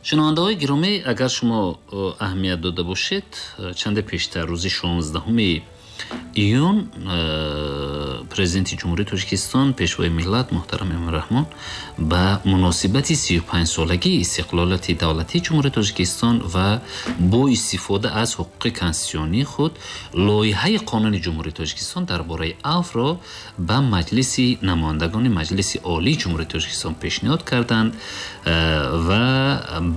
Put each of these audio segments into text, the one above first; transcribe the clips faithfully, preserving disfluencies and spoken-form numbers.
Шунавандаҳои гиромӣ, агар шумо аҳамият дода бошед, чанде пештар рӯзи шонздаҳуми июн Президенти Ҷумҳурии Тоҷикистон, Пешвои миллат муҳтарам Эмомалӣ Раҳмон ба муносибати сию панҷсолагии истиқлолияти давлатии Ҷумҳурии Тоҷикистон ва бо истифода аз ҳуқуқи конститутсионии худ лоиҳаи қонуни Ҷумҳурии Тоҷикистон дар бораи афвро ба Маҷлиси намояндагони Маҷлиси Олии Ҷумҳурии Тоҷикистон пешниҳод карданд ва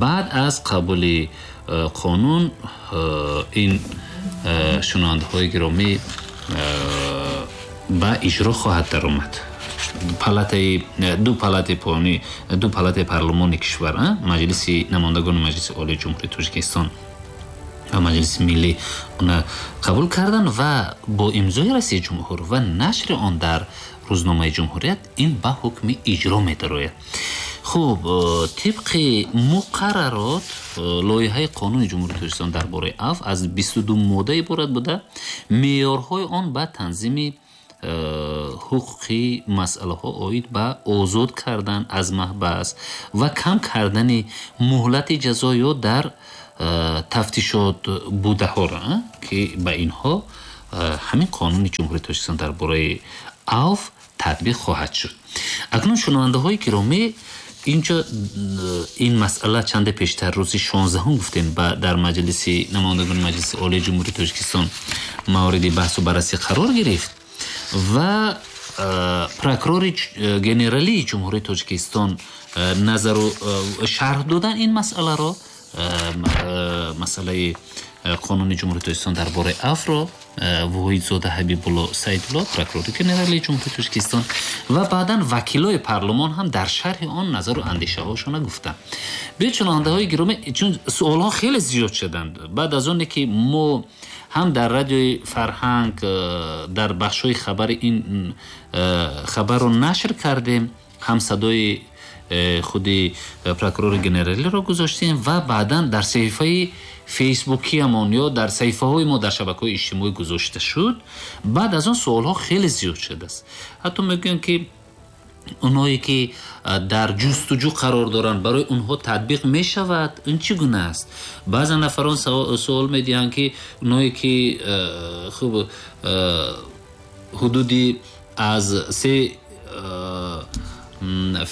баъд аз қабули қонун ин шунавандаҳои гиромӣ ба иҷро хоҳад даромад. Палатаи ду палатаи поёнӣ, ду палатаи парлумони кишвар, Маҷлиси намояндагони Маҷлиси Олии Ҷумҳурии Тоҷикистон ва Маҷлиси Миллӣ она қабул карданд ва бо имзои раиси ҷумҳур ва нашри он дар рӯзномаи ҷумҳурият ин ба ҳукми иҷро медарояд. Хуб, тибқи муқаррарот лоиҳаи қонуни Ҷумҳурии Тоҷикистон дар бораи афв аз бисту ду модда иборат буда, меъёрҳои он ба танзими ҳуқуқи масъалаҳо оид ба озод кардан аз маҳбас ва кам кардани муҳлати ҷазо ё дар тафтишот будаҳоро, ки ба инҳо ҳамин қонуни Ҷумҳурии Тоҷикистон дар бораи афв татбиқ хоҳад шуд. Акнун шунавандаҳои гиромӣ, инҷо ин масъала чанде пештар рӯзи шонздаҳум гуфтем дар Маҷлиси намояндагони Маҷлиси Олии Ҷумҳурии Тоҷикистон мавриди баҳсу баррасӣ қарор гирифт ва прокурори генералии Ҷумҳурии Тоҷикистон назару шарҳ додан ин масъаларо, масъалаи қонуни Ҷумҳурии Тоҷикистон дар бораи афвро Воҳидзода Ҳабибулло Саидулло, прокурори генералии Ҷумҳурии Тоҷикистон, ва баъдан вакилои парлумон ҳам дар шарҳи он назару андешаҳошона гуфтанд. Биёед, шунавандаҳои гиромӣ, чун суолҳо хеле зиёд шуданд баъд аз оне ки мо ҳам дар радиои Фарҳанг дар бахшҳои хабари ин хабарро нашр кардем, ҳам садои худи прокурори генералиро гузоштем ва баъдан дар саҳифаи фейсбукиамон ё дар саҳифаҳои мо дар шабакаҳои иҷтимоӣ гузошта шуд. Баъд аз он суолҳо хеле зиёд шудааст. Ҳатто мегӯянд, ки онҳое ки дар ҷустуҷӯ қарор доранд, барои онҳо татбиқ мешавад, ин чӣ гуна аст? Баъзе нафарон суол медиҳанд, ки онҳое ки хуб ҳудуди аз се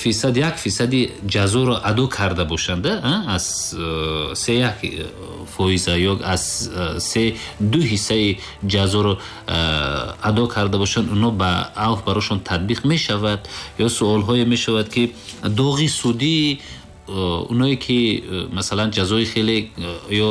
фисад як фисади ҷазоро адо карда бошанд, аз се як фоиза ё аз се ду ҳиссаи ҷазоро адо карда бошанд, онҳо ба авф барошон татбиқ мешавад? Ё суолҳое мешавад, ки доғи судӣ онҳое ки масалан ҷазои хеле ё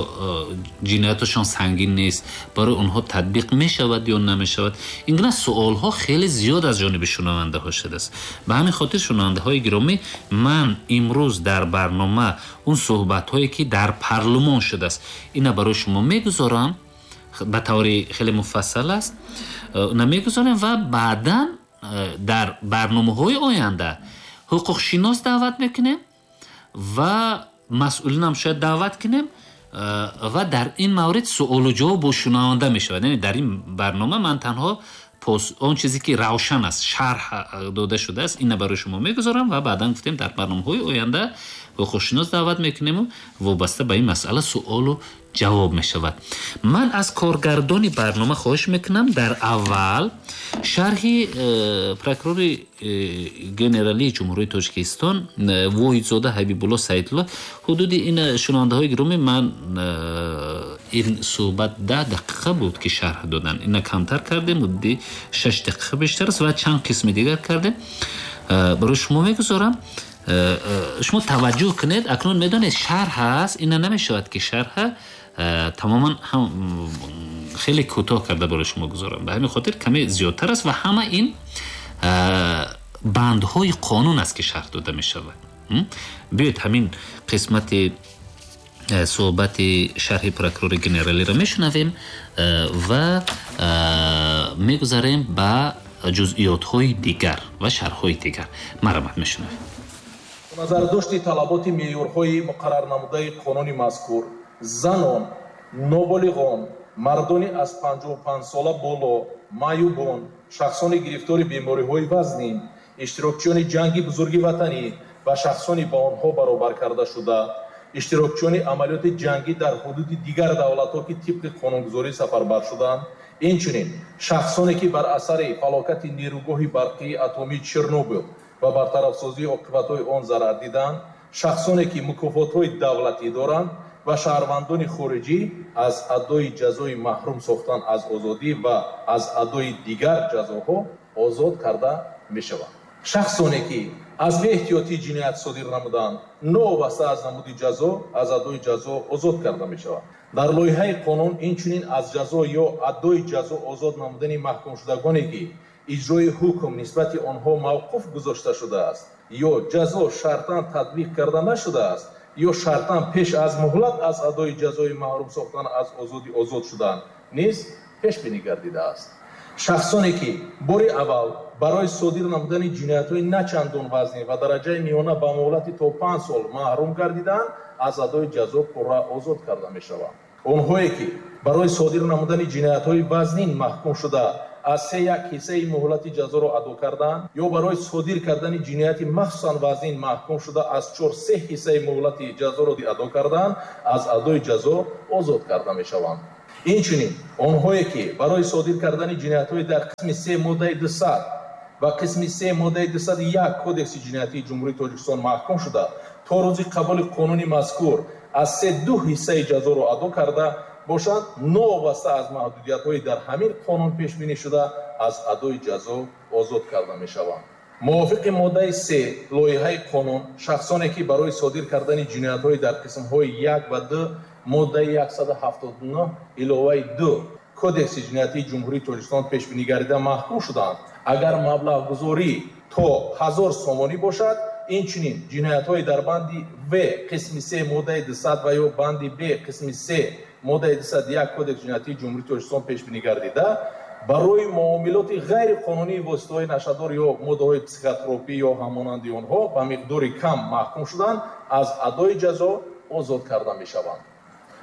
ҷинояташон сангин нест, барои онҳо татбиқ мешавад ё намешавад? Ин гуна суолҳо хеле зиёд аз ҷониби шунавандаҳо шудааст. Ба ҳамин хотир, шунавандаҳои гиромӣ, ман имрӯз дар барнома он суҳбатҳое ки дар парлумон шудааст, ина барои шумо мегузорам, ба таври хеле муфассал аст, ина мегузорем ва баъдан дар барномаҳои оянда ҳуқуқшинос даъват мекунем ва масъулинам шояд даъват кунем ва дар ин маврид суолу ҷавоб бо шунаванда мешавад. Яъне дар ин барнома ман танҳо он чизе ки равшан аст, шарҳ дода шудааст, ина барои шумо мегузорам ва баъдан гуфтем дар барномаҳои оянда ҳуқуқшинос даъват мекунему вобаста ба ин масъала суолу ҷавоб мешавад. Ман аз коргардони барнома хоҳиш мекунам дар аввал шарҳи прокурори генералии Ҷумҳурии Тоҷикистон Воҳидзода Ҳабибулло Саидулло. Ҳудуди ин, шунавандаҳои гиромӣ, ман ин суҳбат даҳ дақиқа буд ки шарҳ додан, ина камтар кардем, ҳудуди шаш дақиқа бештар аст ва чанд қисми дигар кардем, барои шумо мегузорам. Шумо таваҷҷӯҳ кунед. Акнун медонед, шарҳ аст, ина намешавад ки шарҳа тамоман ҳам хеле кӯтоҳ карда барои шумо гузорам, ба ҳамин хотир каме зиёдтар аст ва ҳама ин бандҳои қонун аст ки шарҳ дода мешавад. Биёед, ҳамин қисмати суҳбати шарҳи прокурори генералиро мешунавем ва мегузарем ба ҷузъиётҳои дигар ва шарҳҳои дигар. Марҳамат, мешунавем. Назардошти талаботи меъёрҳои муқаррарнамудаи қонуни мазкур, занон, ноболиғон, мардони аз панҷоҳу панҷ сола боло, маъюбон, шахсони гирифтори бемориҳои вазнин, иштирокчиёни ҷанги бузурги ватанӣ ва шахсони ба онҳо баробар карда шуда Иштирокчиёни амалиёти ҷангӣ дар ҳудуди дигар давлатҳо, ки тибқи қонунгузорӣ сафарбар шуданд, инчунин шахсоне, ки бар асари фалокати нерӯгоҳи барқии атомии Чернобил ва бартарафсозии оқибатҳои он зарар диданд, шахсоне, ки мукофотҳои давлатӣ доранд ва шаҳрвандони хориҷӣ аз адои ҷазои маҳрум сохтан аз озодӣ ва аз адои дигар ҷазоҳо озод карда мешаванд. Шахсоне, ки аз беэҳтиётӣ ҷиноят содир намуданд, новобаста аз намуди ҷазо аз адои ҷазо озод карда мешаванд. Дар лоиҳаи қонун инчунин аз ҷазо ё адои ҷазо озод намудани маҳкумшудагоне, ки иҷрои ҳукм нисбати онҳо мавқуф гузошта шудааст ё ҷазо шартан татбиқ карда нашудааст ё шартан пеш аз муҳлат аз адои ҷазои маҳрум сохтан аз озодӣ озод шудан низ пешбинӣ гардидааст. Шахсоне, ки бори аввал барои содир намудани ҷиноятҳои начандон вазнин ва дараҷаи миёна ба муҳлати то панҷ сол маҳрум гардиданд, аз адои ҷазо пурра озод карда мешаванд. Онҳое, ки барои содир намудани ҷиноятҳои вазнин маҳкум шуда аз се як ҳиссаи муҳлати ҷазоро адо карданд ё барои содир кардани ҷинояти махсусан вазнин маҳкум шуда аз чор се ҳиссаи муҳлати ҷазоро адо карданд, аз адои ҷазо озод карда мешаванд. Инчунин онҳое, ки барои содир кардани ҷиноятҳои дар қисми се моддаи дусад ва қисми се моддаи дусаду як Кодекси ҷиноятии Ҷумҳурии Тоҷикистон маҳкум шуда то рӯзи қабули қонуни мазкур аз се ду ҳиссаи ҷазоро адо карда бошанд, новобаста аз маҳдудиятҳои дар ҳамин қонун пешбинӣ шуда аз адои ҷазо озод карда мешаванд. Мувофиқи моддаи се лоиҳаи қонун, шахсоне, ки барои содир кардани ҷиноятҳои дар қисмҳои як ва ду моддаи яксаду ҳафтоду нӯҳ иловаи ду Кодекси ҷиноятии Ҷумҳурии Тоҷикистон пешбинӣ гардида маҳкум шуданд, агар маблағгузорӣ то ҳазор сомонӣ бошад, инчунин ҷиноятҳои дар банди В қисми се моддаи дусад ва ё банди Б қисми се моддаи дусаду як Кодекси ҷиноятии Ҷумҳурии Тоҷикистон пешбинӣ гардида барои муомилоти ғайриқонунии воситаҳои нашъадор ё моддаҳои психотропӣ ё ҳамонанди онҳо ба миқдори кам маҳкум шуданд, аз адои ҷазо озод карда мешаванд.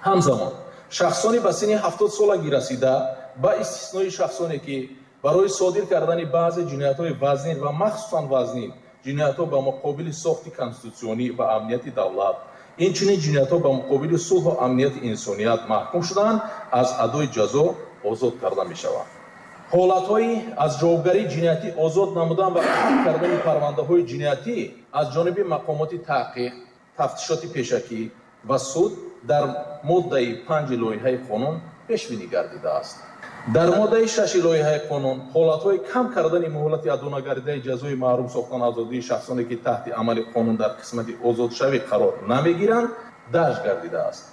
Ҳамзамон шахсони ба синни ҳафтод солагӣ расида, ба истиснои шахсоне, ки барои содир кардани баъзе ҷиноятҳои вазнин ва махсусан вазнин, ҷиноятҳо ба муқобили сохти конститутсионӣ ва амнияти давлат, инчунин ҷиноятҳо ба муқобили сулҳу амнияти инсоният маҳкум шуданд, аз адои ҷазо озод карда мешаванд. Ҳолатҳои аз ҷавобгарии ҷиноятӣ озод намудан ва қатъ кардани парвандаҳои ҷиноятӣ аз ҷониби мақомоти таҳқиқ, тафтишоти пешакӣ ва суд дар моддаи панҷи лоиҳаи қонун пешбинӣ гардидааст. Дар моддаи шаши лоиҳаи қонун ҳолатҳои кам кардани муҳлати адо нагардидаи ҷазои маҳрум сохтан аз озодии шахсоне, ки таҳти амали қонун дар қисмати озодшавӣ қарор намегиранд, дарҷ гардидааст.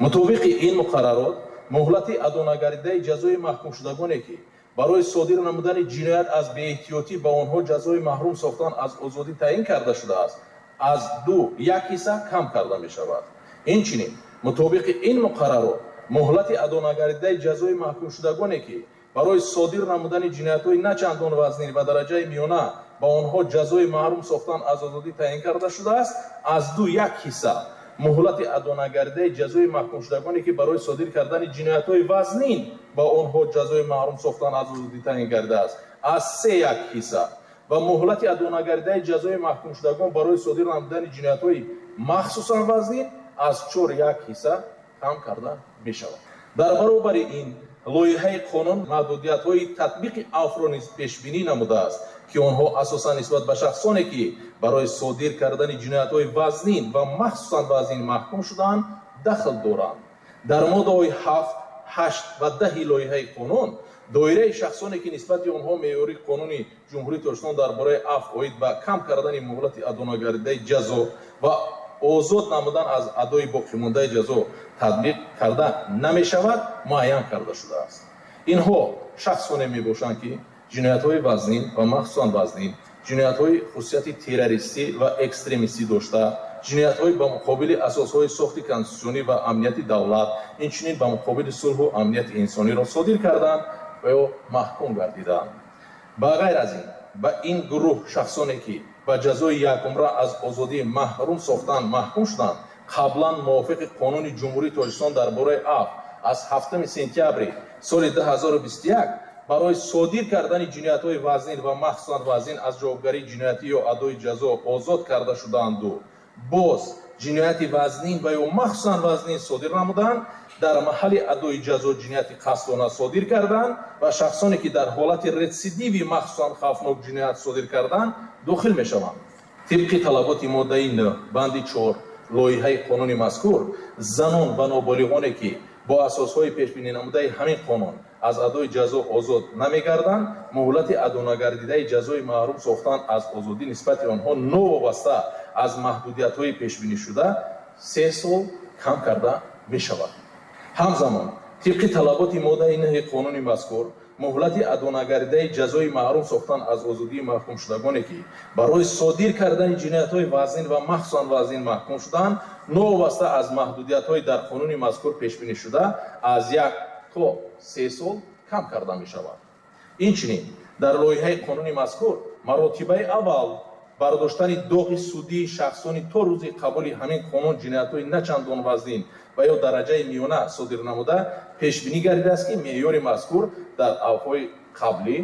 Мутобиқи ин муқаррарот, муҳлати адо нагардидаи ҷазои маҳкумшудагоне, ки барои содир намудани ҷиноят аз беэҳтиётӣ ба онҳо ҷазои маҳрум сохтан аз озодӣ таъин карда шудааст, аз ду як ҳисса кам карда мешавад. Инчунин мутобиқи ин муқаррарот, муҳлати адо нагардидаи ҷазои маҳкумшудагоне, ки барои содир намудани ҷиноятҳои начандон вазнин ва дараҷаи миёна ба онҳо ҷазои маҳрум сохтан аз озодӣ таъин карда шудааст, аз ду як ҳисса, муҳлати адо нагардидаи ҷазои маҳкумшудагоне, ки барои содир кардани ҷиноятҳои вазнин ба онҳо ҷазои маҳрум сохтан аз озодӣ таъин гардидааст, аз се як ҳисса ва муҳлати адо нагардидаи ҷазои маҳкумшудагон барои содир намудани ҷиноятҳои махсусан вазнин аз чор як ҳисса кам карда мешавад. Дар баробари ин лоиҳаи қонун маҳдудиятҳои татбиқи афвро низ пешбинӣ намудааст, ки онҳо асосан нисбат ба шахсоне, ки барои содир кардани ҷиноятҳои вазнин ва махсусан вазнин маҳкум шудаанд, дахл доранд. Дар моддаҳои ҳафт, ҳашт ва даҳи лоиҳаи қонун доираи шахсоне, ки нисбати онҳо меъёри қонуни Ҷумҳурии Тоҷикистон дар бораи афв оид ба кам кардани муҳлати адо нагардидаи ҷазо ва озод намудан аз адои боқимондаи ҷазо татбиқ карда намешавад, муайян карда шудааст. Инҳо шахсоне мебошанд, ки ҷиноятҳои вазнин ва махсусан вазнин, ҷиноятҳои хусусияти террористӣ ва экстремистӣ дошта, ҷиноятҳои ба муқобили асосҳои сохти конститутсионӣ ва амнияти давлат, инчунин ба муқобили сулҳу амнияти инсониро содир карданд ва ё маҳкум гардиданд. Ба ғайр аз ин, ба ин гурӯҳ шахсоне, ки ба ҷазои якумра аз озодӣ маҳрум сохтан маҳкум шуданд, қаблан мувофиқи қонуни Ҷумҳурии Тоҷикистон дар бораи афв аз ҳафтуми сентябри соли ду ҳазору бисту як барои содир кардани ҷиноятҳои вазнин ва махсусан вазнин аз ҷавобгарии ҷиноятӣ ё адои ҷазо озод карда шудаанду боз ҷинояти вазнин ва ё махсусан вазнин содир намуданд, дар маҳалли адои ҷазо ҷинояти қасдона содир карданд ва шахсоне ки дар ҳолати ретсидиви махсусан хавфнок ҷиноят содир карданд дохил мешаванд. Тибқи талаботи моддаи нӯҳ банди чор лоиҳаи қонуни мазкур, занон ва ноболиғоне ки бо асосҳои пешбининамудаи ҳамин қонун аз адои ҷазо озод намегарданд, муҳлати адонагардидаи ҷазои маҳрум сохтан аз озодӣ нисбати онҳо новобаста аз маҳдудиятҳои пешбинишуда се сол кам карда мешавад. Ҳамзамон, тибқи талаботи моддаи нӯҳи қонуни мазкур, муҳлати адонагардидаи ҷазои маҳрум сохтан аз озодии маҳкумшудагоне ки барои содир кардани ҷиноятҳои вазнин ва махсусан вазнин маҳкум шуданд, новобаста аз маҳдудиятҳои дар қонуни мазкур пешбинишуда аз як то се сол кам карда мешавад. Инчунин, дар лоиҳаи қонуни мазкур маротибаи аввал бардоштани доғи судии шахсони то рӯзи қабули ҳамин қонун ҷиноятҳои начандон вазнин ва ё дараҷаи миёна содир намуда пешбинӣ гардидааст, ки меъёри мазкур дар авфҳои қаблӣ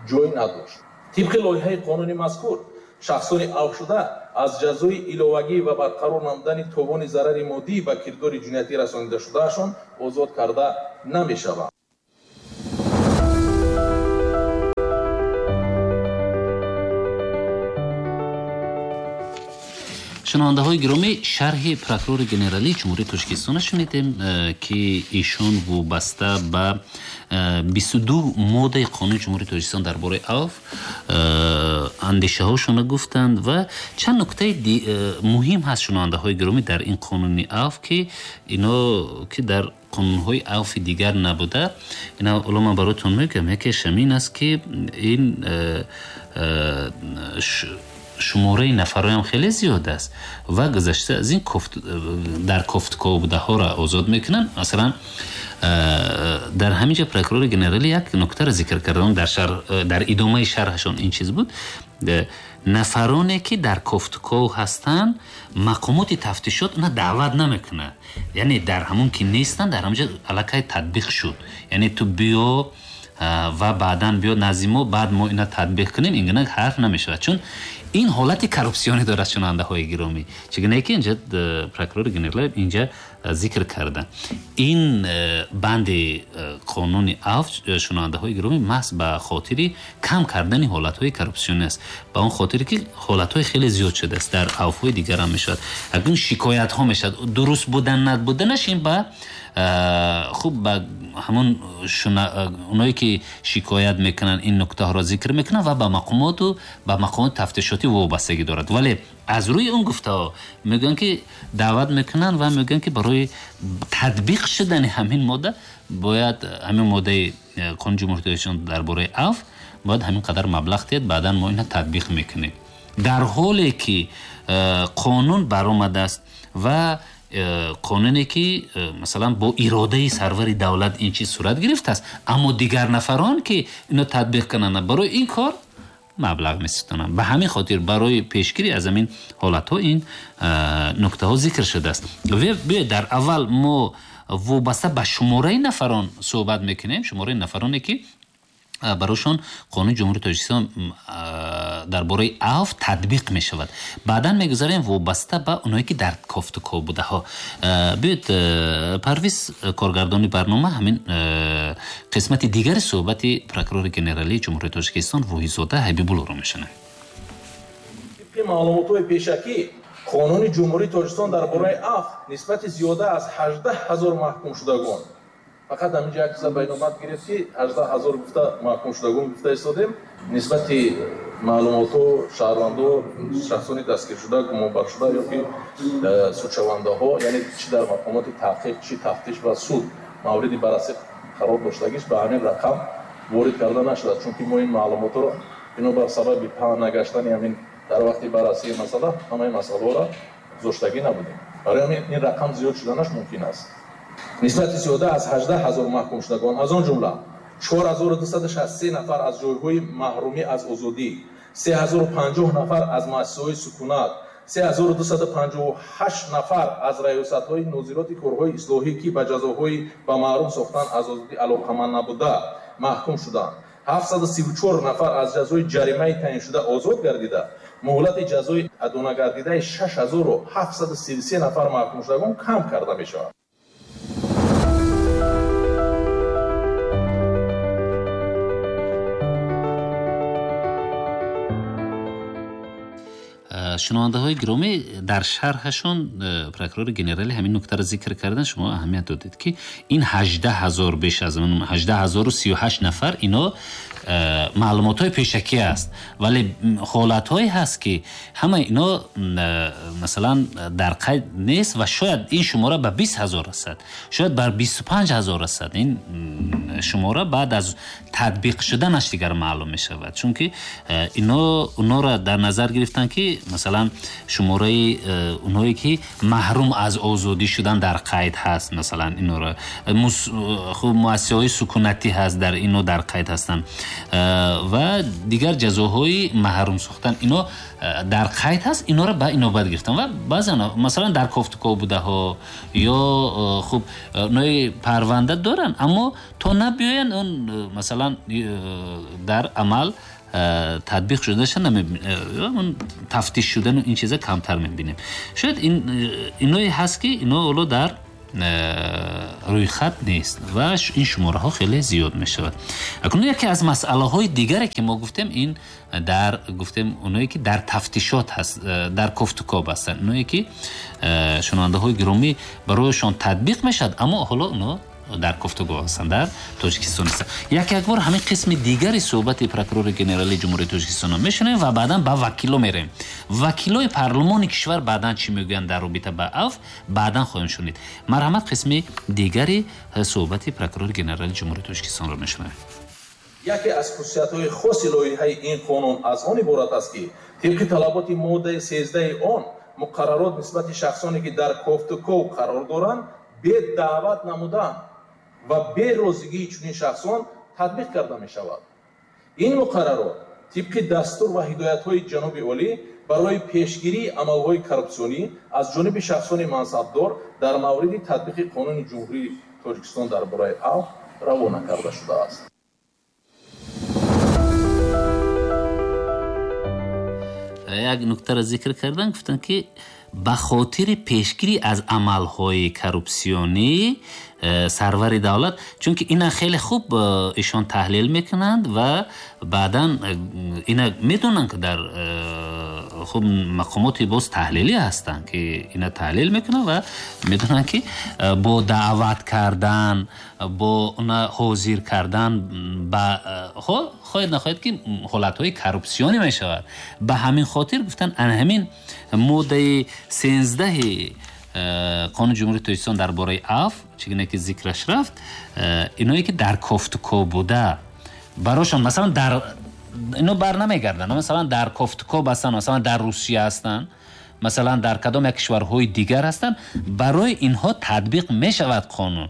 ҷой надошт. Тибқи лоиҳаи қонуни мазкур, шахсони авфшуда аз ҷазои иловагӣ ва барқарор намудани товони зарари моддӣ ба кирдори ҷиноятӣ расонидашудаашон озод карда намешаванд. Шунавандаҳои гиромӣ, шарҳи прокурори генералии Ҷумҳурии Тоҷикистонро шунидем, ки ишон вобаста ба бисту ду моддаи қонуни Ҷумҳурии Тоҷикистон дар бораи авф андешаҳошонро гуфтанд ва чанд нуктаи муҳим ҳаст, шунавандаҳои гиромӣ, дар ин қонуни авф, ки ино ки дар қонунҳои авфи дигар набуда. Ина ҳоло ман бароятон мегӯям, якеш ҳамин аст, ки ин шумораи нафарҳоям хеле зиёд аст ва гузашта аз ин дар кофткобдаҳоро озод мекунанд. Масалан, дар ҳамин ҷо прокурори генералӣ як нуктаро зикр карданд, дар шарҳ, дар идомаи шарҳашон ин чиз буд: нафароне ки дар кофтков ҳастанд, мақомоти тафтишот на даъват намекунад, яъне дар ҳамон ки нестанд, дар ҳамон ҷо аллакай татбиқ шуд, яъне ту биё ва баъдан биё назди мо, баъд мо ина татбиқ кунем, ин гуна ҳарф намешавад, чун ин ҳолати коррупсионӣ дорад, шунавандаҳои гиромӣ. Чигуна ки инҷа прокурори генерал инҷа зикр карда, ин банди қонуни авф, шунавандаҳои гиромӣ, маҳз ба хотири кам кардани ҳолатҳои коррупсионӣ аст, ба он хотире ки ҳолатҳои хеле зиёд шудааст, дар авфҳои дигар ҳам мешавад, акнун шикоятҳо мешавад, дуруст будан набуданаш ин ба хуб ба ҳамон оное ки шикоят мекунанд ин нуктаҳоро зикр мекунанд ва ба мақомоту ба мақомоти тафтишотӣ вобастагӣ дорад. Вале аз рӯи он гуфтаҳо мегӯянд ки даъват мекунанд ва мегӯянд ки барои татбиқ шудани ҳамин модда бояд ҳамин моддаи қонуни Ҷумҳурии Тоҷикистон дар бораи авф бояд ҳамин қадар маблағ диҳад, баъдан мо инро татбиқ мекунем. Дар ҳоле ки қонун баромадааст ва қонуне ки масалан бо иродаи сарвари давлат ин чиз сурат гирифтааст, аммо дигар нафарон ки ино татбиқ кунанд барои ин кор маблағ меситонанд. Ба ҳамин хотир барои пешгирӣ аз ҳамин ҳолатҳо ин нуктаҳо зикр шудааст. Биёед дар аввал мо вобаста ба шумораи нафарон суҳбат мекунем, шумораи нафароне ки барошон қонуни Ҷумҳурии Тоҷикистон дар бораи авф татбиқ мешавад. Баъдан мегузарем вобаста ба оное ки дар кофтуков будаҳо. Биёед Парвиз, коргардони барнома, ҳамин қисмати дигари суҳбати прокурори генералии Ҷумҳурии Тоҷикистон Воҳидзода Ҳабибуллоро мешунавем. Тибқи маълумотҳои пешакӣ, қонуни Ҷумҳурии Тоҷикистон дар бораи авф нисбати зиёда аз ҳаждаҳ ҳазор маҳкумшудагон, фақат ҳаминҷо як чиза байномад гирифт ки ҳаждаҳ ҳазор гуфта маҳкумшудагон гуфта истодем, нисбати маълумотҳо шаҳрвандо, шахсони дастгиршуда, гумонбаршуда ё ки судшавандаҳо, яъне чӣ дар мақомоти таҳқиқ, чӣ тафтиш ва суд мавриди баррасӣ қарор доштагиш ба ҳамин рақам ворид карда нашудааст, чунки мо ин маълумотҳоро бинобар сабаби паҳн нагаштани ҳамин дар вақти баррасии масъала ҳамаи масъалаҳоро гузоштагӣ набудем. Барои ҳамин ин рақам зиёд шуданаш мумкин аст. Нисбати зиёда аз ҳаждаҳ ҳазор маҳкумшудагон, аз он ҷумла чор ҳазору дусаду шасту се нафар аз ҷойҳои маҳрумӣ аз озодӣ, се ҳазору панҷоҳ нафар аз муассисаҳои сукунат, се ҳазору дусаду панҷоҳу ҳашт нафар аз раёсатҳои нозироти корҳои ислоҳӣ, ки ба ҷазоҳои ба маҳрум сохтан аз озодӣ алоқаманд набуда маҳкум шуданд, ҳафтсаду сиву чор нафар аз ҷазои ҷаримаи таъиншуда озод гардида, Муҳлати ҷазои адонагардидаи шаш ҳазору ҳафтсаду сию се нафар маҳкумшудагон кам карда мешавад. Шунавандаҳои гиромӣ, дар шарҳашон прокурори генералӣ ҳамин нуктаро зикр кардан, шумо аҳамият додед, ки ин ҳаждаҳ ҳазор, беш аз ҳаждаҳ ҳазору сию ҳашт нафар ино маълумотҳои пешакӣ аст, вале ҳолатҳое ҳаст, ки ҳама ино масалан дар қайд нест ва шояд ин шумора ба бист ҳазор расад, шояд бар бисту панҷ ҳазор расад. Ин шумора баъд аз татбиқ шуданаш дигар маълум мешавад, чунки ино онора дар назар гирифтанд, ки масалан шумораи онҳое ки маҳрум аз озодӣ шудан дар қайд ҳаст, масалан инора хуб муассисаҳои сукунатӣ ҳаст, дар ино дар қайд ҳастанд ва дигар ҷазоҳои маҳрум сохтан ино дар қайд ҳаст, инора ба инобат гирифтан ва баъзан масалан дар кофтуков будаҳо ё хуб нои парванда доранд, аммо то набиёянд он масалан дар амал татбиқ шудаша намебинем, тафтиш шудану ин чиза камтар мебинем. Шояд иное ҳаст, ки ино ҳоло дар рӯйхат нест ва ин шумораҳо хеле зиёд мешавад. Акнун яке аз масъалаҳои дигаре, ки мо гуфтем, ин дар гуфтем оное ки дар тафтишот ҳаст, дар кофтукоб ҳастанд, оное ки шунавандаҳои гиромӣ барояшон татбиқ мешавад, аммо ҳоло оно дар кофтукоб ҳастанд, дар Тоҷикистон нестанд. Як як бор ҳамин қисми дигари суҳбати прокурори генералии Ҷумҳурии Тоҷикистонро мешунавем ва баъдан ба вакило меравем. Вакилои парлумони кишвар баъдан чӣ мегӯянд дар робита ба афв, баъдан хоҳем шунид. Марҳамат, қисми дигари суҳбати прокурори генералии Ҷумҳурии Тоҷикистонро мешунавем. Яке аз хусусиятҳои хоси лоиҳаи ин қонун аз он иборат аст, ки тибқи талаботи моддаи сездаҳи он муқаррарот нисбати шахсоне, ки дар кофтуков қарор доранд, бе даъват намудан ва берозигии чунин шахсон татбиқ карда мешавад. Ин муқаррарот тибқи дастур ва ҳидоятҳои ҷаноби олӣ барои пешгирии амалҳои коррупсионӣ аз ҷониби шахсони мансабдор дар мавриди татбиқи қонуни Ҷумҳурии Тоҷикистон дар бораи афв равона карда шудааст. Як нуктаро зикр кардан, гуфтанд, ки ба хотири пешгирӣ аз амалҳои коррупсионӣ сарвари давлат, чунки ина хеле хуб ишон таҳлил мекунанд ва баъдан ина медонанд, ки дар хуб мақомоти боз таҳлилӣ ҳастанд, ки ина таҳлил мекунанд ва медонанд, ки бо даъват кардан, бо она ҳозир кардан ба хоҳед нахоҳед, ки ҳолатҳои коррупсионӣ мешавад. Ба ҳамин хотир гуфтанд, ана ҳамин моддаи сенздаҳи қонуни Ҷумҳурии Тоҷикистон дар бораи афв, чӣ гуна ки зикраш рафт, иное ки дар кофтукоб буда барошон масалан дар ино бар намегарданд, масалан дар кофтукоб ҳастанд, масалан дар Русия ҳастанд, масалан дар кадом як кишварҳои дигар ҳастанд, барои инҳо татбиқ мешавад қонун,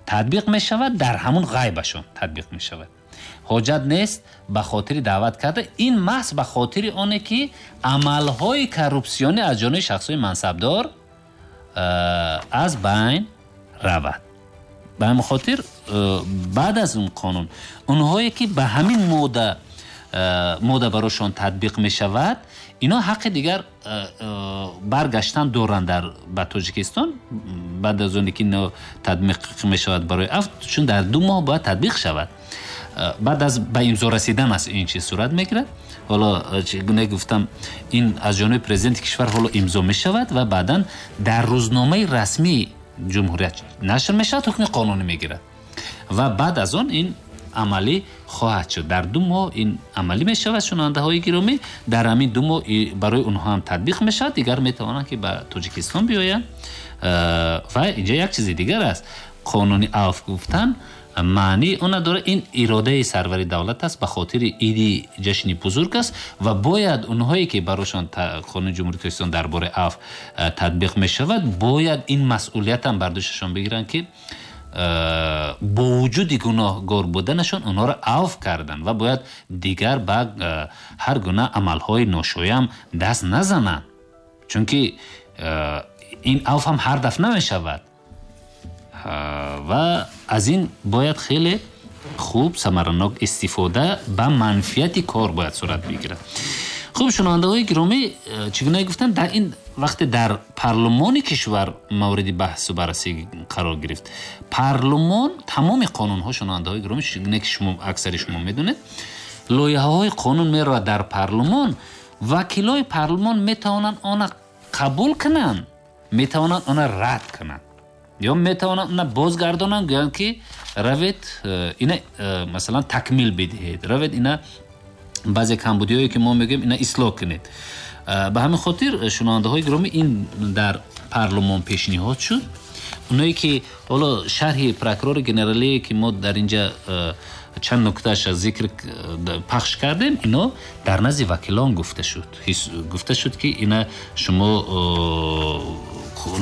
татбиқ мешавад, дар ҳамун ғайбашон татбиқ мешавад. Ҳоҷат нест ба хотири даъват карда, ин маҳз ба хотири оне ки амалҳои коррупсионӣ аз ҷониби шахсҳои мансабдор аз байн равад. Ба ҳамин хотир баъд аз он қонун онҳое ки ба ҳамин модда модда барошон татбиқ мешавад, ино ҳаққи дигар баргаштан доранд дар ба Тоҷикистон баъд аз оне ки ино татбиқ мешавад барои афв, чун дар ду моҳ бояд татбиқ шавад. Баъд аз ба имзо расидан аст ин чиз сурат мегирад. Ҳоло чӣ гуна гуфтам, ин аз ҷониби президенти кишвар ҳоло имзо мешавад ва баъдан дар рӯзномаи расмии ҷумҳурият нашр мешавад, ҳукми қонунӣ мегирад ва баъд аз он ин амалӣ хоҳад шуд. Дар ду моҳ ин амалӣ мешавад. Шунавандаҳои гиромӣ, дар ҳамин ду моҳ барои онҳо ҳам татбиқ мешавад, дигар метавонанд ки ба Тоҷикистон биёянд. Ва инҷа як чизи дигар аст, қонуни афв гуфтан маънии она дорад, ин иродаи сарвари давлат аст, ба хотири иди ҷашни бузург аст ва бояд онҳое ки барошон қонуни Ҷумҳурии Тоҷикистон дар бораи афв татбиқ мешавад, бояд ин масъулиятам бар дӯшашон бигиранд, ки бо вуҷуди гуноҳгор буданашон онҳоро афв карданд ва бояд дигар ба ҳар гуна амалҳои ношоям даст назананд, чунки ин афв ҳам ҳар дафъ намешавад ва аз ин бояд хеле хуб самаранок истифода ба манфиати кор бояд сурат бигирад. Хуб, шунавандаҳои гиромӣ, чӣ гуна гуфтам, дар ин вақте дар парлумони кишвар мавриди баҳсу баррасӣ қарор гирифт, парлумон тамоми қонунҳо, шунавандаҳои гиромӣ, чӣ гуна ки шумо аксари шумо медонед, лоиҳаҳои қонун меравад дар парлумон, вакилои парлумон метавонанд она қабул кунанд, метавонанд она рад кунанд ё метавонанд она бозгардонанд, гӯянд ки равед ина масалан такмил бидиҳед, равед ина баъзе камбудиҳое ки мо мегӯем ина ислоҳ кунед. Ба ҳамин хотир, шунавандаҳои гиромӣ, ин дар парлумон пешниҳод шуд. Оное ки ҳоло шарҳи прокурори генералие ки мо дар инҷа чанд нуктааш зикр пахш кардем, ино дар назди вакилон гуфта шуд. Гуфта шуд ки ина шумо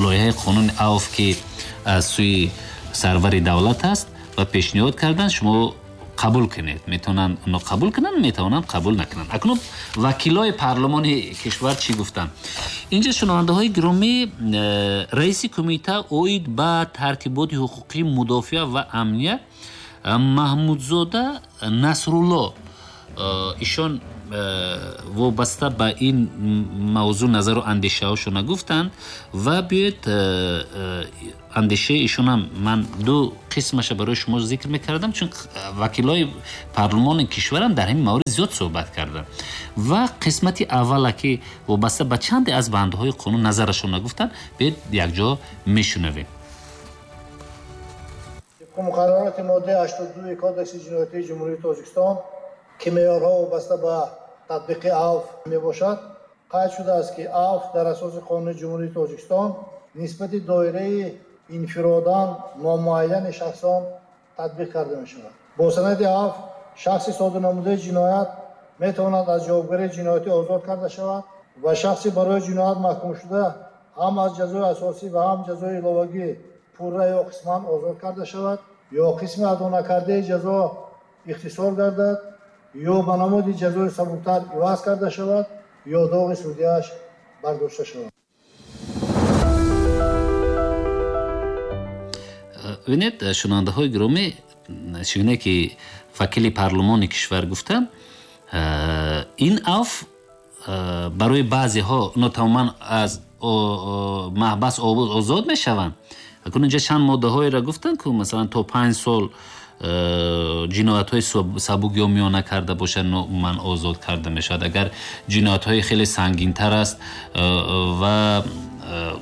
лоиҳаи қонуни авф ки аз сӯи сарвари давлат аст ва пешниҳод кардан, шумо қабул кунед. Метавонанд оно қабул кунанд, метавонанд қабул накунанд. Акнун вакилои парлумони кишвар чӣ гуфтанд? Инҷа, шунавандаҳои гиромӣ, раиси кумита оид ба тартиботи ҳуқуқии мудофиа ва амният Маҳмудзода Насрулло, ишон вобаста ба ин мавзӯъ назару андешаҳошона гуфтанд ва биёед андешаи ишонам ман ду қисмаша барои шумо зикр мекардам, чун вакилои парлумони кишварам дар ҳамин маврид зиёд суҳбат карданд. Ва қисмати аввала ки вобаста ба чанде аз бандҳои қонун назарашона гуфтанд, биёед якҷо мешунавем. Тибқи муқаррароти моддаи ҳаштоду дуи Кодекси ҷиноятии Ҷумҳурии Тоҷикистон, ки меъёрҳо вобаста ба татбиқи авф мебошад, қайд шудааст, ки авф дар асоси қонуни Ҷумҳурии Тоҷикистон нисбати доираи инфиродан номуайяни шахсон татбиқ карда мешавад. Бо санади авф шахси содирнамудаи ҷиноят метавонад аз ҷавобгарии ҷиноятӣ озод карда шавад ва шахси барои ҷиноят маҳкумшуда ҳам аз ҷазои асосӣ ва ҳам ҷазои иловагӣ пурра ё қисман озод карда шавад, ё қисми адонакардаи ҷазо ихтисор гардад, ё ба намуди ҷазои сабуктар иваз карда шавад, ё доғи судияш бардошта шавад. Бинед, шунавандаҳои гиромӣ, чӣ гуна ки вакили парлумони кишвар гуфтам, ин авф барои баъзеҳо оно тамоман аз маҳбас озод мешаванд. Акнун инҷа чанд моддаҳоеро гуфтанд, ки масалан то панҷ сол ҷиноятҳои сабук ё миёна карда бошад, умуман озод карда мешавад. Агар ҷиноятҳои хеле сангинтар аст ва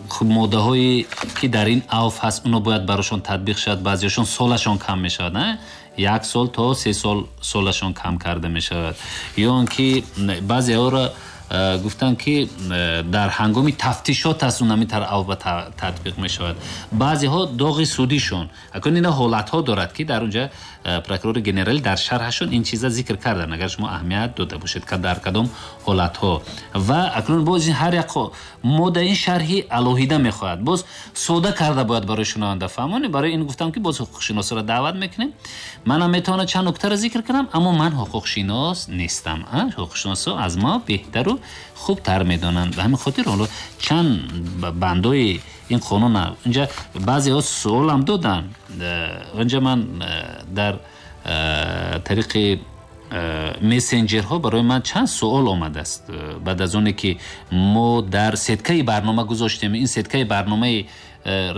хуб моддаҳое ки дар ин авф ҳаст, оно бояд барошон татбиқ шавад. Баъзеҳошон солашон кам мешавад, на як сол то се сол солашон кам карда мешавад. Ё он ки баъзеҳоро гуфтанд ки дар ҳангоми тафтишот аст, он ҳамин тавр авф татбиқ мешавад. Баъзеҳо доғи судишон, акнун ина ҳолатҳо дорад ки дар онҷа прокурори генералӣ дар шарҳашон ин чиза зикр карданд, агар шумо аҳамият дода бошед, дар кадом ҳолатҳо. Ва акнун боз ҳар як модда ин шарҳи алоҳида мехоҳад, боз сода карда бояд барои шунаванда фаҳмонем. Барои ин гуфтам ки боз ҳуқуқшиносро даъват мекунем. Манам метавонам чанд нуктаро зикр кунам, аммо ман ҳуқуқшинос нестам. Ҳуқуқшиносҳо аз мо беҳтару хубтар медонанд. Ба ҳамин хотир ҳоло чанд бандҳои ин қонун инҷа баъзеҳо суолам доданд. Инҷа ман дар тариқи мессенҷерҳо барои ман чанд суол омадааст. Баъд аз оне ки мо дар сеткаи барнома гузоштем, ин сеткаи барномаи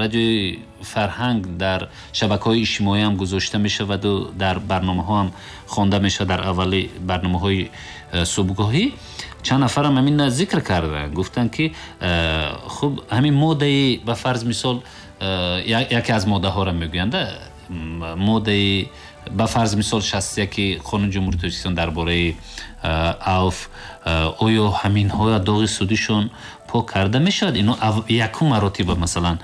радиои фарҳанг дар шабакаҳои иҷтимоӣ ҳам гузошта мешаваду дар барномаҳо ҳам хонда мешавад, дар аввали барномаҳои субҳгоҳӣ чанд нафарам ҳамин зикр карданд, гуфтанд ки хуб ҳамин моддаи ба фарз мисол яке аз моддаҳоро мегӯянд, моддаи ба фарз мисол шасту яки қонуни Ҷумҳурии Тоҷикистон дар бораи авф, оё ҳаминҳо доғи судишон пок карда мешавад? Ино якум маротиба масалан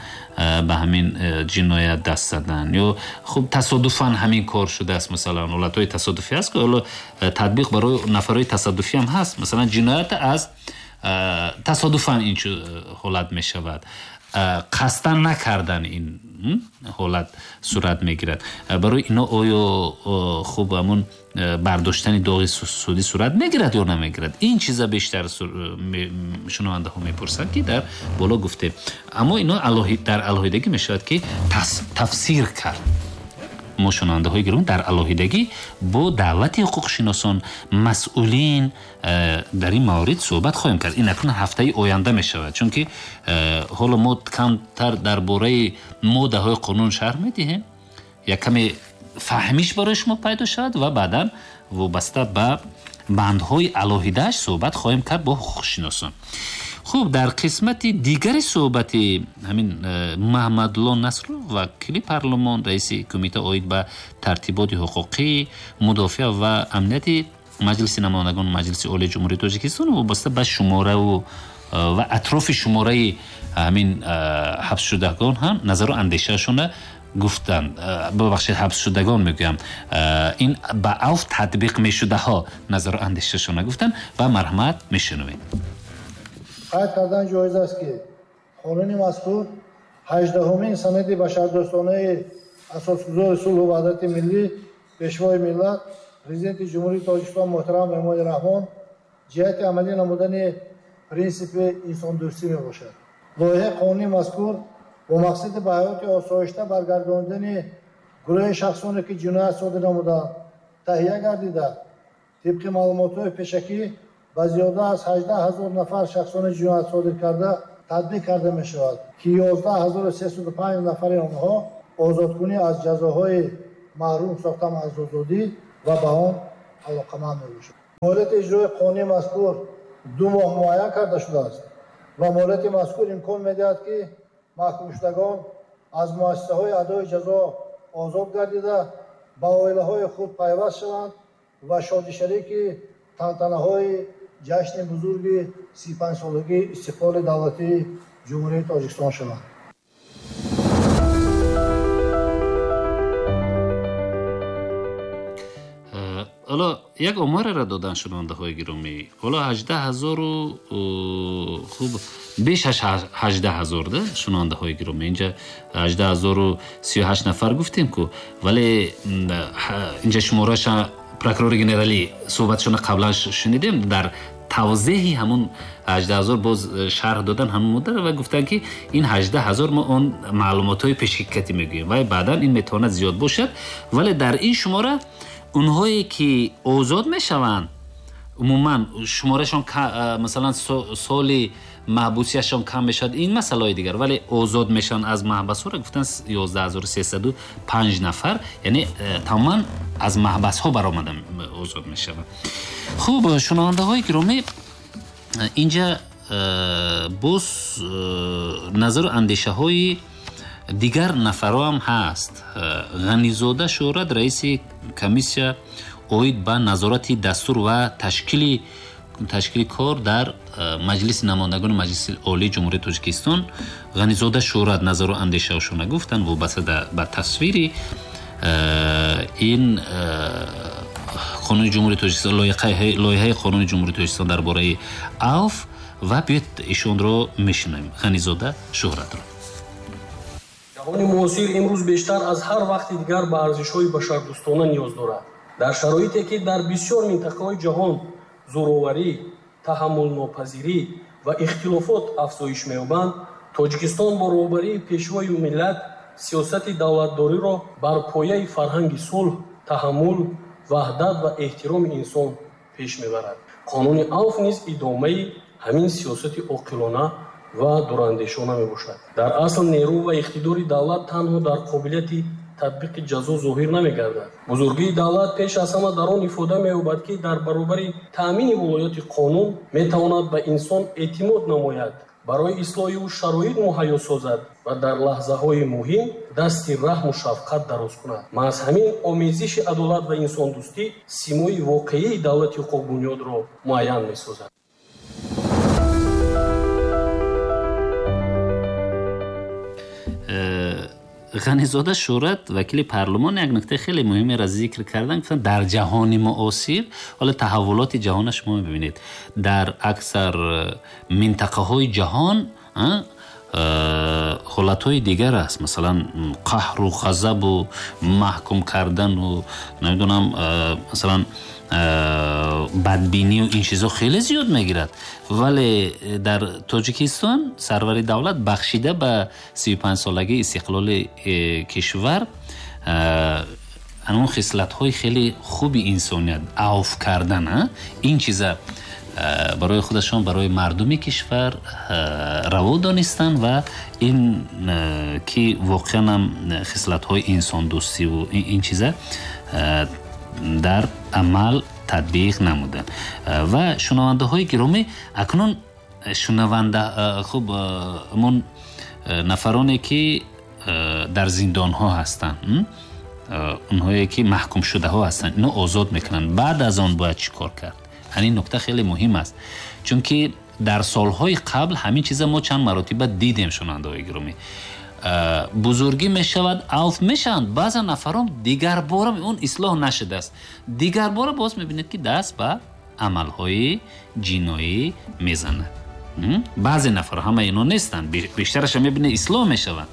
ба ҳамин ҷиноят даст задан ё хуб тасодуфан ҳамин кор шудааст, масалан ҳолатҳои тасодуфӣ ҳаст ки ҳоло татбиқ барои нафарҳои тасодуфӣ ҳам ҳаст, масалан ҷиноят аз тасодуфан ин ҳолат мешавад, қасдан накардан ин ҳолат сурат мегирад. Барои ино оё хуб ҳамун бардоштани доғи судӣ сурат мегирад ё намегирад? Ин чиза бештар шунавандаҳо мепурсанд ки дар боло гуфтем. Аммо ино дар алоҳидагӣ мешавад ки тафсир кард. мо шунавандаҳои гиромӣ дар алоҳидагӣ бо даъвати ҳуқуқшиносон, масъулин дар ин маврид суҳбат хоҳем кард. Ин акнун ҳафтаи оянда мешавад, чунки ҳоло мо камтар дар бораи моддаҳои қонун шарҳ медиҳем, як каме фаҳмиш барои шумо пайдо шавад ва баъдан вобаста ба бандҳои алоҳидааш суҳбат хоҳем кард бо ҳуқуқшиносон. Хуб, дар қисмати дигари суҳбати ҳамин Маҳмадло Насров, вакили парлумон, раиси кумита оид ба тартиботи ҳуқуқӣ, мудофиа ва амнияти Маҷлиси намояндагон Маҷлиси Олии Ҷумҳурии Тоҷикистон вобаста ба шумораву ва атрофи шумораи ҳамин ҳабсшудагон ҳам назару андешаашонро гуфтанд. Бубахшед, ҳабсшудагон мегӯям, ин ба авф татбиқ мешудаҳо назару андешаашонро гуфтанд ва марҳамат мешунавем. Қайд кардан ҷоиз аст, ки қонуни мазкур ҳаждаҳумин санади башардӯстонаи асосгузори сулҳу ваҳдати миллӣ, пешвои миллат, президенти Ҷумҳурии Тоҷикистон муҳтарам Эмомалӣ Раҳмон ҷиҳати амалӣ намудани принсипи инсондӯстӣ мебошад. Лоиҳаи қонуни мазкур бо мақсади ба ҳаёти осоишта баргардонидани гурӯҳи шахсоне, ки ҷиноят содир намуданд, таҳия гардида, тибқи маълумотҳои пешакӣ ба зиёда аз ҳаждаҳ ҳазор нафар шахсони ҷиноят содир карда татбиқ карда мешавад, ки ёздаҳ ҳазору сесаду панҷ нафари онҳо озодкунӣ аз ҷазоҳои маҳрум сохтан аз озодӣ ва ба он алоқаманд мебошад. Муҳлати иҷрои қонуни мазкур ду моҳ муайян карда шудааст ва муҳлати мазкур имкон медиҳад, ки маҳкумшудагон аз муассисаҳои адои ҷазо озод гардида ба оилаҳои худ пайваст шаванд ва шодишарики тантанаҳои ҷашни бузурги си панҷсолагии истиқлоли давлатии Ҷумҳурии Тоҷикистон шаванд. Ҳоло як омореро додан шунавандаҳои гиромӣ. Ҳоло ҳаждаҳ ҳазору хуб беш аз ҳаждаҳ ҳазор да шунавандаҳои гиромӣ. Инҷа ҳаждаҳ ҳазору сию ҳашт нафар гуфтем ку, вале инҷа шумораша прокурори генералӣ суҳбатшонро қаблан шунидем, дар тавзеҳи ҳамун ҳаждаҳ ҳазор боз шарҳ додан ҳамун муддат ва гуфтанд, ки ин ҳаждаҳ ҳазор мо он маълумотҳои пешкикатӣ мегӯем ва баъдан ин метавонад зиёд бошад, вале дар ин шумора онҳое ки озод мешаванд умуман шуморашон масалан соли маҳбусияшон кам мешавад, ин масъалаҳои дигар, вале озод мешаванд аз маҳбасҳоро гуфтанд ёздаҳ ҳазору сесаду панҷ нафар, яъне тамоман аз маҳбасҳо баромада озод мешаванд. Хуб, шунавандаҳои гиромӣ, инҷа боз назару андешаҳои дигар нафарҳо ҳам ҳаст. Ғанизода Шӯҳрат, раиси комиссия оид ба назорати дастур ва ташкили ташкили кор дар Маҷлиси намояндагони Маҷлиси Олии Ҷумҳурии Тоҷикистон, Ғанизода Шӯҳрат назару андешаҳошонро гуфтанд вобаста ба тасвири ин қонуни Ҷумҳурии Тоҷикистон, лоиҳаи қонуни Ҷумҳурии Тоҷикистон дар бораи авф, ва биёед ишонро мешунавем, Ғанизода Шӯҳратро. Ҷаҳони муосир имрӯз бештар аз ҳар вақти дигар ба арзишҳои башардӯстона ниёз дорад. Дар шароите ки дар бисёр минтақаҳои ҷаҳон зӯроварӣ, таҳаммулнопазирӣ ва ихтилофот афзоиш меёбанд, Тоҷикистон бо роҳбарии пешвои миллат сиёсати давлатдориро бар пояи фарҳанги сулҳ, таҳаммул, ваҳдат ва эҳтироми инсон пеш мебарад. Қонуни авф низ идомаи ҳамин сиёсати оқилона ва дурандешона мебошад. Дар асл нерӯ ва иқтидори давлат танҳо дар қобилияти татбиқи ҷазо зоҳир намегардад. Бузургии давлат пеш аз ҳама дар он ифода меёбад, ки дар баробари таъмини вилояти қонун метавонад ба инсон эътимод намояд, барои ислоҳи ӯ шароит муҳайё созад ва дар лаҳзаҳои муҳим дасти раҳму шафқат дароз кунад. Маҳз ҳамин омезиши адолат ва инсондӯстӣ симои воқеии давлати ҳуқуқбунёдро муайян месозад. Ғанизода Шӯҳрат, вакили парлумон, як нуктаи хеле муҳимеро зикр карданд. Гуфтанд дар ҷаҳони муосир, ҳоло таҳаввулоти ҷаҳонро шумо мебинед, дар аксар минтақаҳои ҷаҳон ҳолатҳои дигар аст, масалан қаҳру ғазабу маҳкум кардану намедонам масалан бадбинию ин чизо хеле зиёд мегирад, вале дар Тоҷикистон сарвари давлат бахшида ба сию панҷсолагии истиқлоли кишвар он хислатҳои хеле хуби инсоният, авф кардан, ин чиза барои худашон, барои мардуми кишвар раво донистанд ва ин ки воқеан ҳам хислатҳои инсондӯстиву ин чиза дар амал татбиқ намуданд. Ва шунавандаҳои гиромӣ, акнун шунаванда хуб ҳамон нафароне ки дар зиндонҳо ҳастанд, онҳое ки маҳкумшудаҳо ҳастанд, ино озод мекунанд. Баъд аз он бояд чӣ кор кард? Ҳамин нукта хеле муҳим аст, чунки дар солҳои қабл ҳамин чиза мо чанд маротиба дидем. Шунавандаҳои гиромӣ, бузургӣ мешавад, авф мешаванд, баъзан нафарон дигарбора он ислоҳ нашудааст, дигарбора боз мебинед ки даст ба амалҳои ҷиноӣ мезанад. Баъзе нафар, ҳама ино нестанд, бештараша мебинед ислоҳ мешаванд.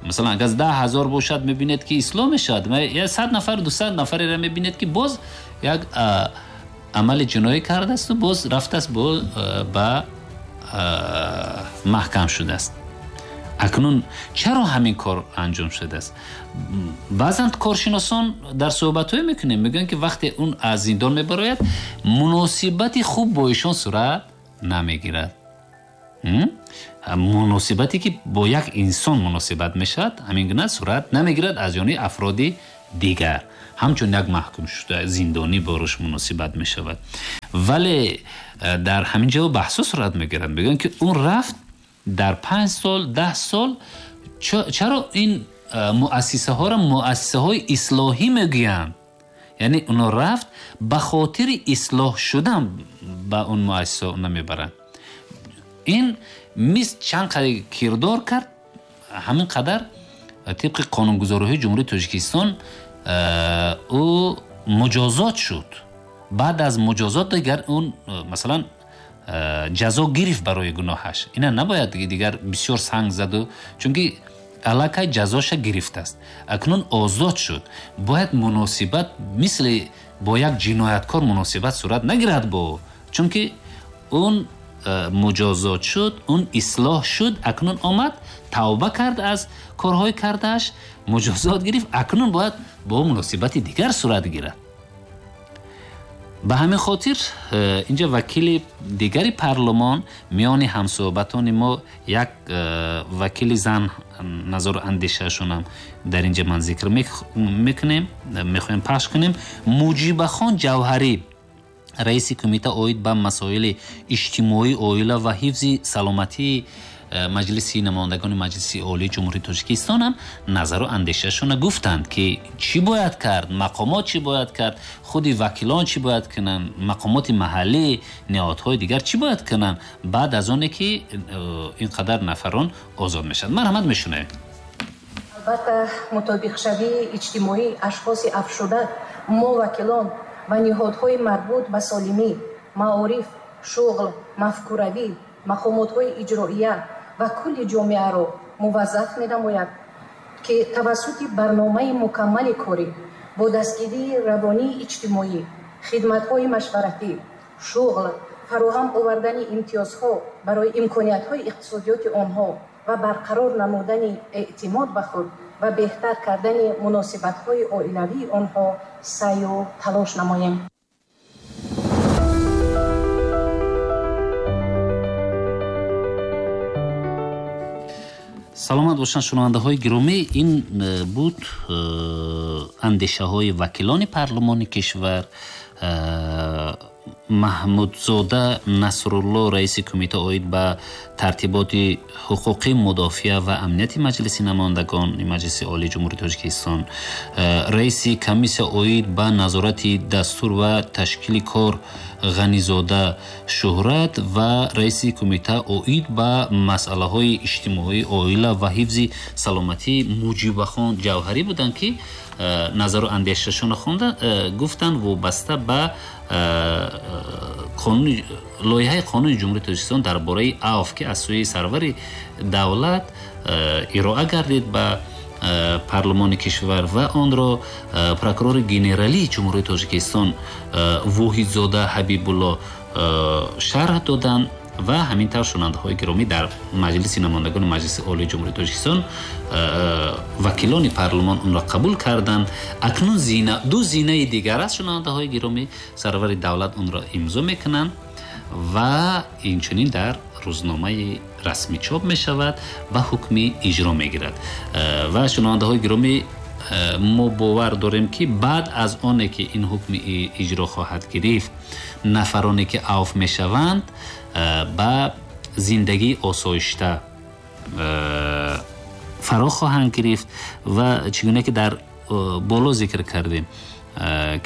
Масалан, агар даҳ ҳазор бошад, мебинед ки ислоҳ мешавад. Сад нафар, дусад нафареро мебинед ки боз як амали ҷиноӣ кардааст боз рафтааст ба маҳкам шудааст. Акнун чаро ҳамин кор анҷом шудааст? Баъзан коршиносон дар суҳбатҳое мекунем, мегӯянд ки вақте он аз зиндон мебарояд, муносибати хуб бо ишон сурат намегирад. Муносибате ки бо як инсон муносибат мешавад, ҳамин гуна сурат намегирад аз ҷониби афроди дигар. Ҳамчун як маҳкум шуда зиндонӣ бо рӯш муносибат мешавад. Вале дар ҳамин ҷо баҳсо сурат мегирад. Мегӯянд ки он рафт дар панҷ сол, даҳ сол. Чаро ин муассисаҳоро муассисаҳои ислоҳӣ мегӯянд? Яъне оно рафт ба хотири ислоҳ шудан ба он муассиса намебаранд. Ин мис чанд қадар кирдор кард, ҳамин қадар тибқи қонунгузориҳои Ҷумҳурии Тоҷикистон ӯ муҷозот шуд. Баъд аз муҷозот дигар он масалан ҷазо гирифт барои гуноҳаш. Ина набояд дигар бисёр санг заду, чунки аллакай ҷазоша гирифтааст. Акнун озод шуд. Бояд муносибат мисли бо як ҷинояткор муносибат сурат нагирад бо ӯ, чунки он муҷозот шуд, он ислоҳ шуд, акнун омад тавба кард аз корҳои кардааш, муҷозот гирифт, акнун бояд бо муносибати дигар сурат гирад. Ба ҳамин хотир инҷа вакили дигари парлумон миёни ҳамсӯҳбатони мо як вакили зан назару андешаашонам дар инҷа ман зикр мекунем, мехоҳем пахш кунем. Муҷибахон Ҷавҳарӣ, раиси кумита оид ба масоили иҷтимоӣ, оила ва ҳифзи саломатии Маҷлиси намояндагони Маҷлиси Олии Ҷумҳурии Тоҷикистон ҳам назару андешаашонро гуфтанд ки чӣ бояд кард, мақомот чӣ бояд кард, худи вакилон чӣ бояд кунанд, мақомоти маҳаллӣ, ниҳодҳои дигар чӣ бояд кунанд баъд аз оне ки ин қадар нафарон озод мешаванд. Марҳамат, мешунавем. Албатта, мутобиқшавии иҷтимоии ашхоси афшуда мо вакилон ва ниҳодҳои марбут ба солимӣ, маориф, шуғл, мафкуравӣ, мақомотҳои иҷроия ва кулли ҷомеаро муваззаф менамояд, ки тавассути барномаи мукаммали корӣ бо дастгирии равонии иҷтимоӣ, хидматҳои машваратӣ, шуғл, фароҳам овардани имтиёзҳо барои имкониятҳои иқтисодиёти онҳо ва барқарор намудани эътимод ба худ ва беҳтар кардани муносибатҳои оилавии онҳо саъю талош намоем. Саломат бошанд шунавандаҳои гиромӣ. Ин буд андешаҳои вакилони парлумони кишвар. Маҳмудзода Насрулло, раиси кумита оид ба тартиботи ҳуқуқӣ, мудофиа ва амнияти Маҷлиси намояндагони Маҷлиси Олии Ҷумҳурии Тоҷикистон, раиси комиссия оид ба назорати дастур ва ташкили кор Ғанизода Шуҳрат ва раиси кумита оид ба масъалаҳои иҷтимоӣ, оила ва ҳифзи саломатӣ Муҷибахон Ҷавҳарӣ буданд, ки назару андешашонро хонда гуфтанд вобаста ба лоиҳаи қонуни Ҷумҳурии Тоҷикистон дар бораи авф, ки аз сӯи сарвари давлат ироа гардид ба парлумони кишвар ва онро прокурори генералии Ҷумҳурии Тоҷикистон Воҳидзода Ҳабибулло шарҳ доданд. Ва ҳамин тавр, шунавандаҳои гиромӣ, дар Маҷлиси намояндагони Маҷлиси Олии Ҷумҳурии Тоҷикистон вакилони парлумон онро қабул карданд. Акнун зина, ду зинаи дигар аст, шунавандаҳои гиромӣ, сарвари давлат онро имзо мекунанд ва инчунин дар рӯзномаи расмӣ чоп мешавад ва ҳукми иҷро мегирад. Ва шунавандаҳои гиромӣ, мо бовар дорем, ки баъд аз оне ки ин ҳукми иҷро хоҳад гирифт, нафароне ки авф мешаванд, ба зиндагии осоишта фаро хоҳанд гирифт. Ва чӣ гуна ки дар боло зикр кардем,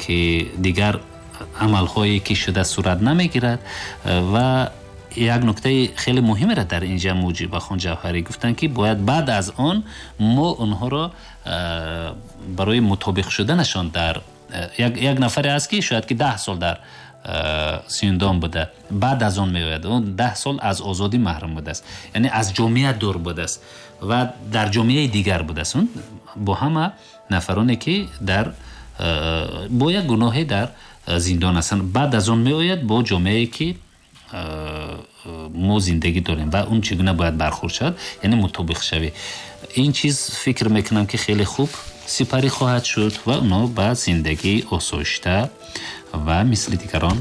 ки дигар амалҳое ки шуда сурат намегирад. Ва як нуктаи хеле муҳимеро дар инҷа Муҷибахон Ҷавҳарӣ гуфтанд, ки бояд баъд аз он мо онҳоро барои мутобиқ шуданашон дар як, як нафаре аст, ки шояд ки даҳ сол дар зиндон буда, баъд аз он меояд, он даҳ сол аз озодӣ маҳрум будааст, яъне аз ҷомеа дур будааст ва дар ҷомеаи дигар будааст. Он бо ҳама нафароне ки дар бо як гуноҳе дар зиндон ҳастанд, баъд аз он меояд бо ҷомеае ки мо зиндагӣ дорем ва он чӣ гуна бояд бархӯрд шавад, яъне мутобиқ шавӣ. Ин чиз фикр мекунам, ки хеле хуб сипарӣ хоҳад шуд ва онҳо ба зиндагии осоишта ва мисли дигарон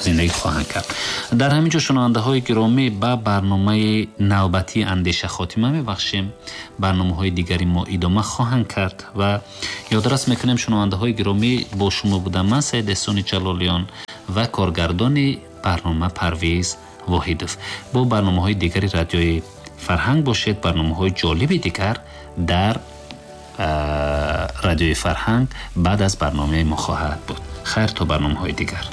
зиндагӣ хоҳанд кард. Дар ҳамин ҷо, шунавандаҳои гиромӣ, ба барномаи навбатии Андеша хотима мебахшем. Барномаҳои дигари мо идома хоҳанд кард ва ёдрас мекунем, шунавандаҳои гиромӣ, бо шумо будам ман, Саид Эҳсони Ҷалолиён, ва коргардони барнома Парвиз Воҳидов. Бо барномаҳои дигари Радиои Фарҳанг бошед. Барномаҳои ҷолиби дигар дар Радиои Фарҳанг баъд аз барномаи мо хоҳад буд. Хайр, то барномаҳои дигар.